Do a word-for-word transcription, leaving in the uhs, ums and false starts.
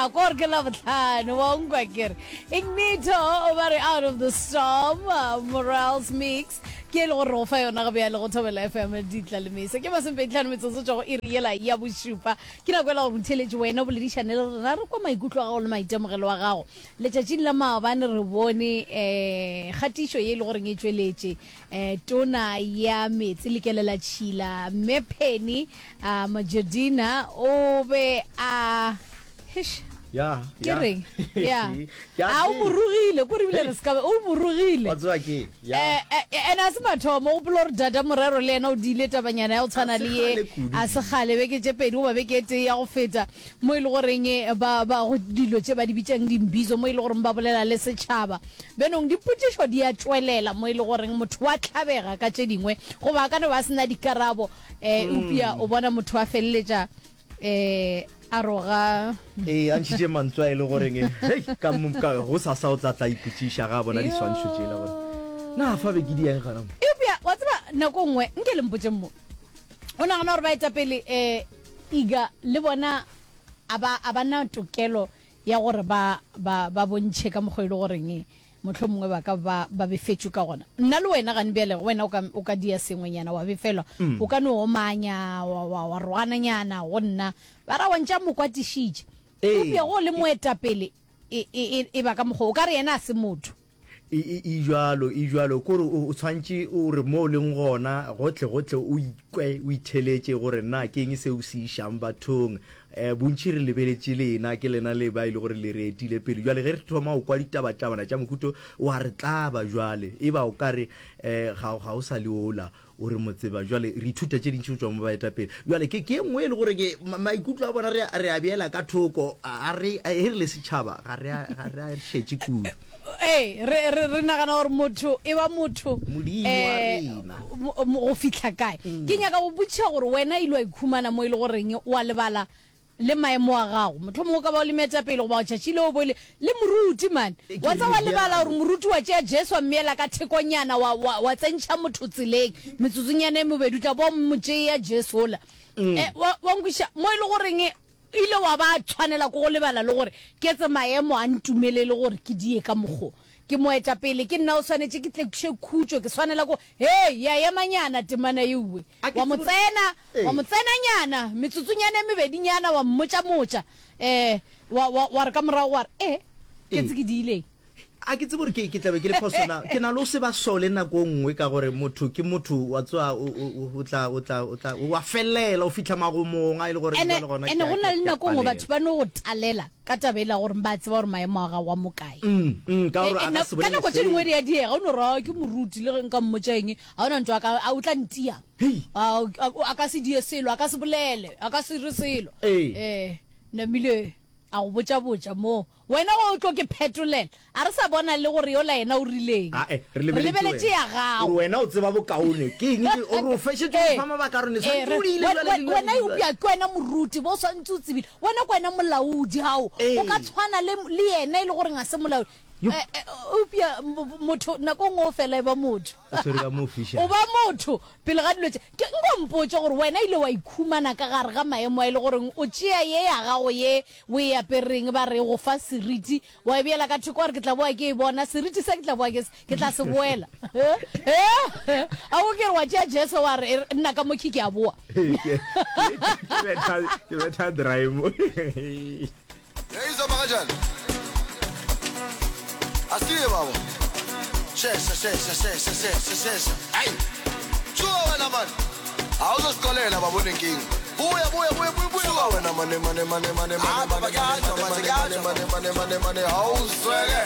Ya, ko gore ke Labohlano, wa nkwa ke re. Ignito o ba re Out of the Storm, uh, Morales Mix, ke e le gore re go fa yona ga bjale go Thobela F M ditla le mesa. Ke masomepedi-hlano metsotso tšwa go iri yela ya bošupa. Ke nako ela gore motheeletši wena o boledišane le rena, re kwa maikutlo a gago le maitemogelo a gago. Letšatšing la maabane re bone eh, kgatišo ye e le goreng e tšweletše eh, tona ya meetse le kelelatšhila Mme Penny uh, Majodina o be a Eish. Ya, Ke ya. reng? Ya. Ke a A o tseba. mo rogile, ko re bile re se ka be, o mo rogile. Wa tseba ke, ya. Eh, eh, ene a se mathomo, o gopola gore Dada Morero le yena o diile tabanyana ya go A tshwana se le ye, kgale kudu. a se kgale, beke tše pedi goba beke e tee ya go feta, mo e le goreng ba, ba go dilo tše ba di bitšang dimbizo, mo e le goreng ba bolela le setšhaba. Bjanong dipotšišo di a tšwelela mo e le goreng motho wa tlabega ka tše dingwe, goba a ka no ba a se na dikarabo, eh, eupša o bona motho a feleletša eh a roga. Ee, a ntšhitše mantswe a e le goreng, hei, ka mo, ka gosasa o tla tla ipotšiša ga a bona diswantšho tšela gore, na fa be ke di eng gona mo? Eupša, wa tseba, nako nngwe, nke le mpotšeng mo, o nagana gore baetapele, eh, Iga, le bona a ba, a ba na tokelo ya gore ba, ba, ba bontšhe ka mokgwa e le goreng mohlomongwe ba ka ba ba befetšwe ka gona. Nna le wena gane bjale, wena o ka, o ka dia sengwenyana wa befelwa, Mm. o ka no omanya, wa, wa, wa rogananyana go nna, ba ra wa ntša mo kwatišitše. Ee. Eupša go le moetapele, e, e, e, e ba ka mokgwa, o ka re yena a se motho. E, e, e bjalo, e bjalo. Kore o, o tshwantše o re mo o leng gona, gohle, gohle o ikwe, o itheletše gore na ke eng seo se išang bathong. Eh, bontši re lebeletše lena, ke lena le ba e le gore le re etile pele. Bjale ge re thoma go kwa ditabatabana tša mohuto, wa re tlaba bjale. E ba o ka re, eh, ga, ga o sa le ola, o re mo tseba. Bjale re ithuta tše dintši go tšwa mo baetapele. Bjale ke, ke e nngwe e le gore ke, ma-, maikutlo a bona re, re a beela ka thoko, a re, ge re le setšhaba, ga re a, ga re a šetše kudu. Ee, re, re, re nagana gore motho e ba motho, Modimo wa eh, rena. mo, mo, go fihla kae. Ke nyaka go botšiša gore wena ile wa ikhumana mo e le goreng o a lebala le maemo a gago. Mohlomongwe o ka ba o le moetapele goba tšatši leo o bo le, le moruti, man. Ke Wa tseba wa lebala bjalo. gore moruti wa tšea Jesu wa mmeela ka thekonyana, wa, wa, wa tsentšha motho tseleng. Metsotsonyana e mebedi o tla bo o mo tšea Jesu ola. Eh, wa, wa nkwešiša? Mo e le goreng ile wa ba tshwanela ke go lebala le gore ke tse maemo a ntumelele gore ke die ka mokgo. Ke moetapele, ke nna o swanetše ke tlekiše khutšo, ke swanela ko, hei, ya emanyana temana yeuwe. A ke Wa mo tsebe- tsena, wa mo Ee. tsenanyana, metsotsonyana e mebedinyana, wa mmotšamotša, eh, wa, wa, wa re ka morago wa re, eh, ke Ee. tse ke diileng. A ke tsebe gore ke, ke tla be ke le phoso na. Ke na le go se ba sole nako e nngwe ka gore motho ke motho, wa tseba, o, o, o, o tla, o tla, o tla, wa felela, o fihla magomong a e le gore Ene, jwale gona ene ke a- go na ke le a nako e nngwe palela. batho ba no go talela ka taba e la gore ba tseba gore maemo a gago a mo kae. Mm, mm, ka gore Eh, a eh, ka na- se ka bolele nako tše dingwe selo. di a diega, o no re, ah, ke moruti, le ge nka mmotša eng, ga ona ntho a ka, a o tla ntia. Hei. A, a, a ka se die selo, a ka se bolele, a ka se re selo. Ee. Eh, namile a go botša-botša moo. Wena o tlo ke phetolela. A re sa bona le gore yola yena o rileng. Ah, eh, re Re lebeletše lebeletše wena. ya gago. Gore wena o tseba bokaone. Ke eng ke, o re o fešetše go Eh, fa mabaka a rone. eh, Swantse re- o diile we- jwale we- dilo wena di- eupša ke wena moruti, bo swantse o tsebile. Wena ke wena molaodi gao. Eh. O ka tshwana le, le yena e le gore ga se molaodi. Yo. Eh, eh, eupša m-, m-, motho nako nngwe o fela e ba motho. O tshwere ka mo fiša. O ba motho pele ga dilo tše. Ke nko mpotše gore wena ile wa ikhumana ka gare ga maemo a e le goreng o tšea ye ya gago ye o e apereng ba re go fa seriti, wa e beela ka thoko wa re ke tla boa ke e bona, seriti se ke tla boa ke se, ke tla se boela. Eh? Eh? A o ke re wa tšea Jesu wa re, e re, nna ka mo ke a boa. Ke, ke, ke betha, ke betha dry mo. Hey, Zama kanjani? Asiye baba. Shesha, shesha, shesha, shesha, shesha. Hayi. Suka wena man. Awuzosixolela baba unenkinga. Buya, buya, buya, buya, buya. Suka wena mane, mane, mane, mane, mane, mane, mane, mane, mane, mane, mane, mane, mane. Awuzweke.